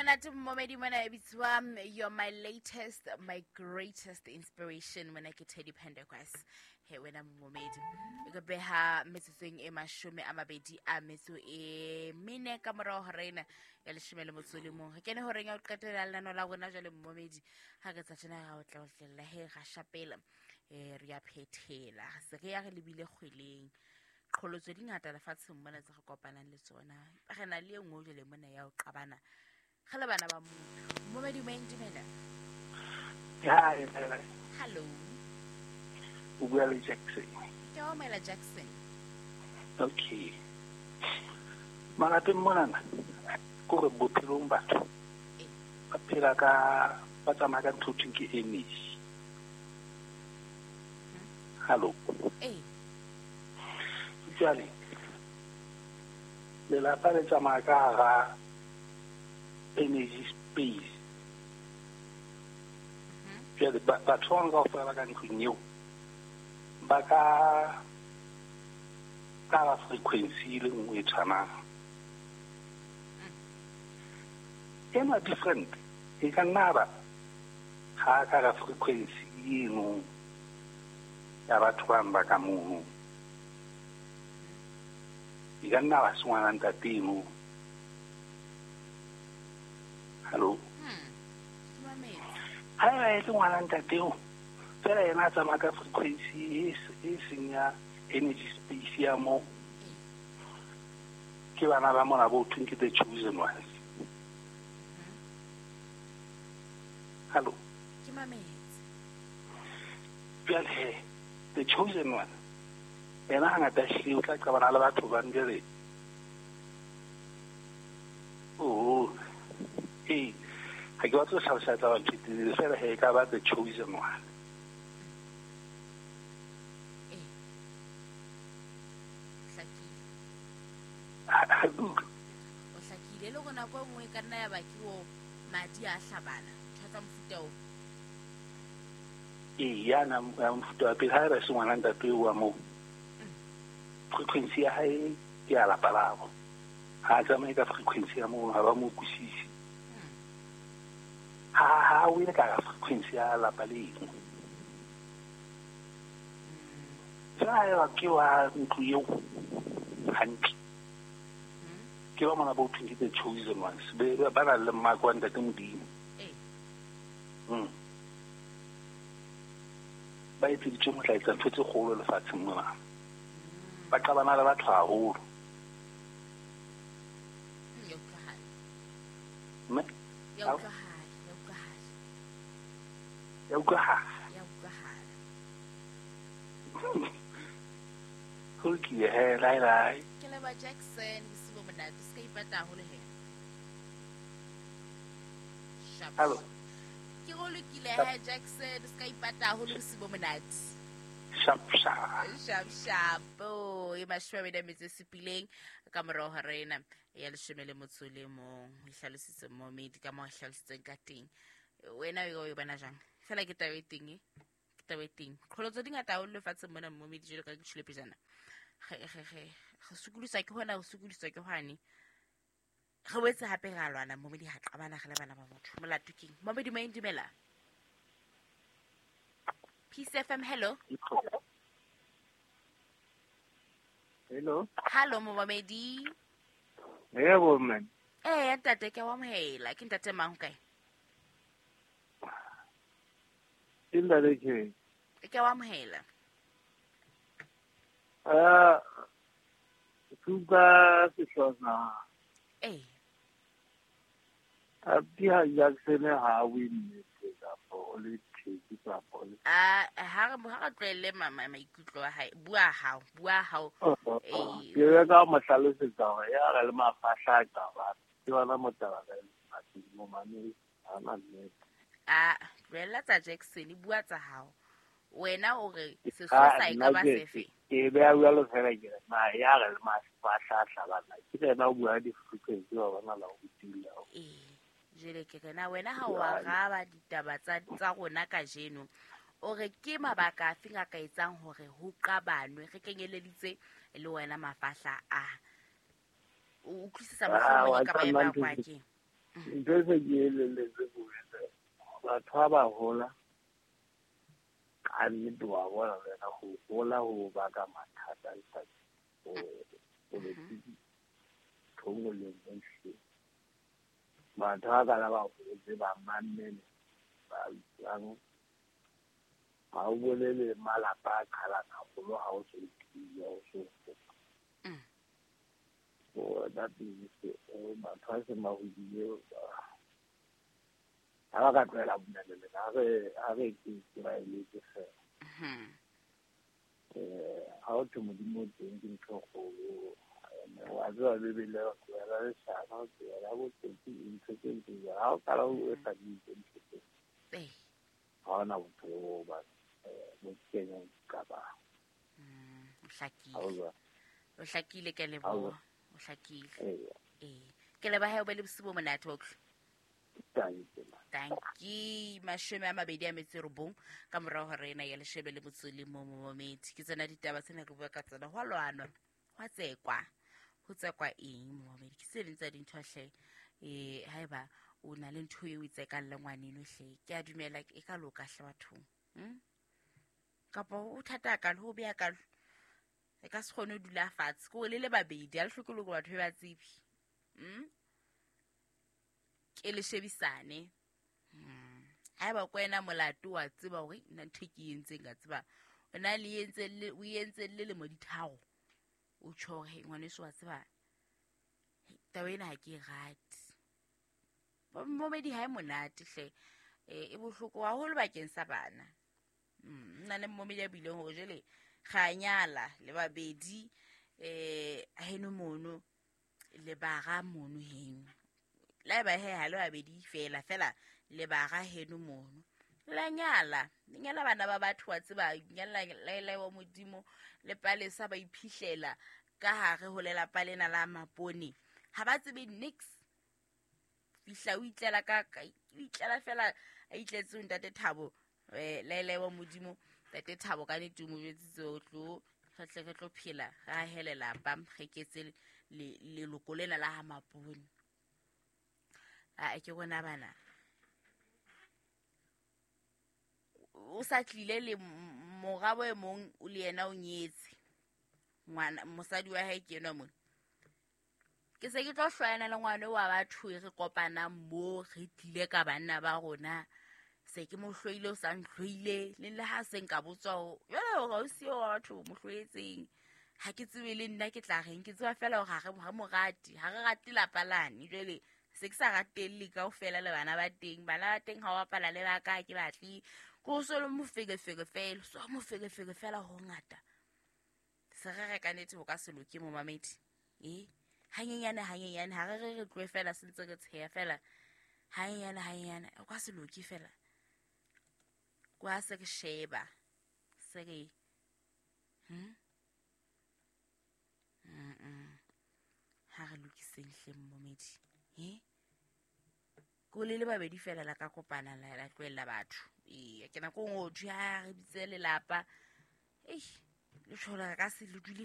Monate momedi mona e bitswa "You're My Latest, My Greatest Inspiration". Mona ke Teddy Pendergrass. He wena momedi, e ka beha metsotsong e 24 ka morao hora ena ya 11. Re kene horeng ya ho qetela lenano la rona jwale momedi. Ha re tsa tjena ra o tla otlela he ra shapela, re ya phethela, se re ya re lebile kgweleng. Qholotso di ngata lefatsheng mona tse re kopanang le tsona. Re na le e nngwe jwale mona ya ho qabana re le bana ba motho. Momedi moeng, dumela. Hi. Hello. O bua le Jackson. Ke wa amohela, Jackson. Okay. Malapeng monana, kore bophelong batho ba phela ka, ba tsamaya ka ntho thweng ke energy. Hello. Ee. Jwale lelapa le tsamaya ka hara energy space. Jwale batho ba bang kaofela ba ka ntlong eo ba ka hara frequency e le nngwe e tshwanang. Ena different e ka nna ba ha ka hara frequency eno ya batho bang ba ka mono. E ka nna ba se ngwana ntate eno. Hello. Ke mametse. Ha eba e le ngwana ntate eo, fela yena a tsamaya ka frequency e seng ya energy space ya moo. Ke bana ba mona bo thweng ke the chosen ones. Hello. Ke mametse. Jwale he, the chosen one yena hangata ehlile o tla qabana le batho bang jwale. Oh, ee, ha ke batle ho hlalosa tsa batho telele fela he, e ka ba the chosen one. Ee, hlakile. Ha ke utlwe. O hlakile le hore nako e nngwe e ka nna ya ba ke o madi a hlabana, ntho tsa mofuta oo. Ee, yana ya mofuta wa pele, ha eba se ngwana ntate eo wa moo, frequency ya hae ke ya lapa labo. Ha a tsamaye ka frequency ya moo, ha ba mo utlwisise. Ha o ile ka frequency ya lapa leno. Fela ha eba ke wa ntlo eo hantle, ke ba mona bo thweng ke the chosen ones, ba nang le mmako wa ntate Modimo. Ba etseditswe ho tla etsa ntho tse kgolo lefatsheng mona. Ba qabana le batho haholo. Ya utlwahala. Mme? Ya Au. utlwahala, ya utlwahala. Ya utlwahala. Ya utlwahala. Ho lokile he, lai lai. Ke leba Jackson, bosiu bo monate. Se ka ipata haholo he. Sharp. Hello. Ke go lokile he Jackson, se ka ipata haholo, bosiu bo monate. Sharp sharp. Sharp sharp. Oh, e 27 ka morao hora ena ya 11. E hlalositse momedi ka moo e hlalositseng ka teng. Wena o e bona jang? Fela ke taba e teng e. Ke taba e teng. Qholotso di ngata haholo lefatsheng mona momedi, jwalo ka ke tjhole pejana. Re sokodiswa ke hona, re sokodiswa ke hwane. Re boetse hape ra lwana momedi, ha qabana re le bana ba motho. Molato keng? Momedi moeng, dumela. Peace FM, hello. Hello. Hello momedi. Yebo man. Eh, ntate, ke wa amohela. Ke ntate mang kae? Ke ntate ke. Ke wa amohela. Suka Sehlosa. Eh. A di ha Jackson ha win kapa o le theki kapa o le. A ha re tlohelle maikutlo a hae. Bua hao, bua hao. Eh. Ke re ka mo hlalosetsa hore ya re le mafahla a qaba. Ke yona motaba ka lefatsheng mo mane ha na nnete. A tlohella tsa Jackson, bua tsa hao. Wena o re sesosa e ka ba sefe? Ke beha jwalo fela ke re na ya re le mafahla a hlabana. Ke yena o bua di-frequency wa bona la ho tila. Ee, jwale ke re na wena ha o araba ditaba tsa rona kajeno, o re ke mabaka afe a ka etsang hore ho qabanwe, re kenyeleditse le wena mafahla a. O utlwisisa mohlomong e ka ba e bakwa ke? Ntho e se ke elelletse ko batho ba ba hola ka nnete wa bona le wena ho hola ho baka mathata lefatsheng. Politiki ntho e nngwe le e nngwe ehlile. Batho ba kana ba hotse ba mamele ba utlwang ha o bolele malapa a qhalana haholo ha o so tiile o so hola. So that is batho ba seng ba hodile ha ba ka tlohela bomelele ha re ke ba eletse fela. Ha o thwe Modimo o teng ke ntho e kgolo. Wa tseba Bibele e tlohela leshano, tlohela botsotsi, ntho tse ntseng jwalo. Ha o qala o etsa dintho tse ha hona bophelo bo ba bo kenyang qabang. O hlakile. O hlakile ke leboha. O hlakile. Ee. Ke leboha o be le bosiu bo monate wa utlwa. Tanki 29 ka morao hore ena ya 11 momedi. Ke tsena ditaba tsena re bua ka tsona. Ho a lwanwa, ho a tsekwa, ho tsekwa eng momedi? Ke tse ding tsa dintho hle. Haeba o na le ntho eo o e tsekang le ngwaneno hle, ke a dumela e ka loka hle bathong. Kapa o thata kalo, ho beha kalo. E ka se kgone ho dula fatshe. Ke hore le le babedi, ha le hloke le hore batho ba tsebe. Ke le shebisane. Haeba ko wena molato wa tseba hore nna ntho e ke e entseng ka tseba. O na le entse le o entse le lemo di tharo. O tjho hore ngwaneso wa tseba. Taba ena ha ke e rate. Momedi ha e monate hle. E bohloko haholo bakeng sa bana. Nna le momedi a buileng hore jwale ra nyala le babedi heno mono le bara mono heno. La ba he ha le babedi fela fela le bara heno mono. La nyala, le nyala bana ba batho wa tseba nyala le wa Modimo le palesa ba iphihlela ka hare ho lelapa lena la Mapone. Ha ba tsebe nix. Fihla o itlela ka o itlela fela a itletse ntate Thabo le wa Modimo ntate Thabo ka nnete o mo jwetsitse o tlo re tle re tlo phela re ahe lelapa re ketse leloko lena la ha Mapone. A ke bona bana o sa tlile le morabo e mong o le yena o nyetse ngwana mosadi wa hae ke enwa mona. Ke se ke tlo hlwayana le ngwana wa batho e re kopanang mo re tlile ka banna ba rona. Se ke mo hloile o sa ntlhoile le ha se nka botswa jwale hore o siyo wa batho mo hloetseng. Ha ke tsebe le nna ke tla reng, ke tseba fela hore ha re mo rate, ha re rate lapa lane. Jwale se ke sa ratelle kaofela le bana ba teng. Bana ba teng ha o bapala le ba ka ke batle. Ko so le moferefere fela, so moferefere fela ho ngata. Se re re ka nnete ho ka se loke momamedi. Hanyenyane hanyenyane ha re re re tlohe fela se ntse re tsheya fela. Hanyenyane hanyenyane o ka se loke fela. Kwa se re sheba. Se re Ha re lokiseng hle momedi. Ko le le babedi fela la ka kopana la tlohella batho. Ke nako e nngwe ho thwe ha re bitse lelapa. Le tjho re ka se le dule